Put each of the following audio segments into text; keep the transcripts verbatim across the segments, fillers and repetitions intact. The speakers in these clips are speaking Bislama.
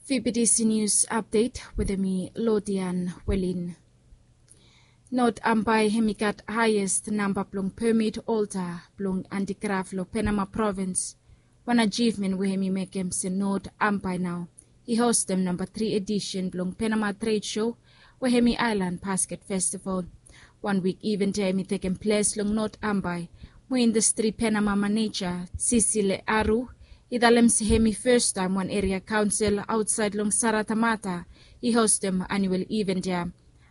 Fibidisi nius apdet wetem mi Lodian Welin. Not Ambae hemi gat haiest namba blong pemit olta blong andikraf long Penama provins. Wan ajivmen we hemi mekem se Not Ambae nao i hostem namba tri edisen blong Penama tred sho we hemi aelan basket festival. Wan wik iven ya hemi tekem ples long Not Ambae, mo indastri Penama maneja Sisile Aru i talem se hemi festaem wan eria kaonsel aotsaed long Saratamata i hostem anuel iven ya.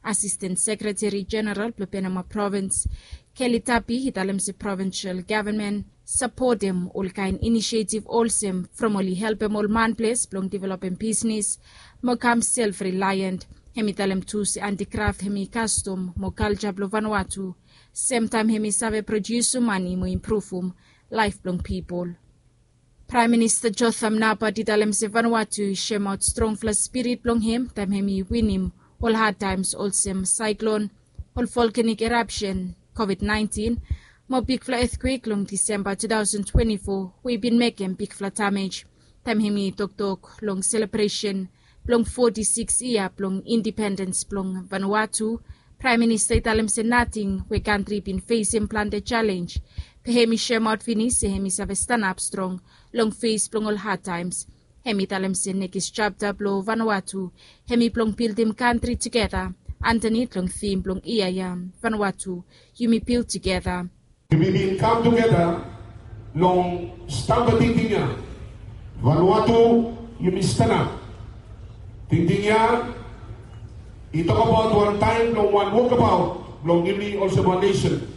Asisten sekreteri jeneral blong Penama provins Kelly Tapi i talem se provinsel gavman sapotem olkaen inisietiv olsem from oli helpem ol manples blong developem bisnes mo kam self reliant. Hemi talem tu se andikraf hemi kastom mo kalja blong Vanuatu, semtaem hemi save prodiusum mane mo impruvum laef blong pipol. Praem Minista Jotham Napat i talem se Vanuatu i semaot strongfala spirit blong hem taem hemi winim ol hadtaems olsem saeklon, ol volkanik erapsen, kovid naentin, mo bigfala etkwek long Disemba tu taosen twenti fo we i bin mekem bigfala damej. Taem hemi toktok long selebresen blong foti sikis yia blong indipendens blong Vanuatu, Praem Minista i talem se nating we kantri i bin fesem plante jalenj, be hemi semaot finis se hemi save stanap strong long fes blong ol hadtaems. Hemi talem se nekis japta blong Vanuatu hemi blong bildim kantri tugeta antanit long tim blong yia ya, Vanuatu, yumi bil tugeta. Yumi bin kam tugeta long stamba tingting ya. Vanuatu, yumi stanap. Tingting ya i tokbaot wan taem blong wan wokbaot blong yumi olsem wan nesen.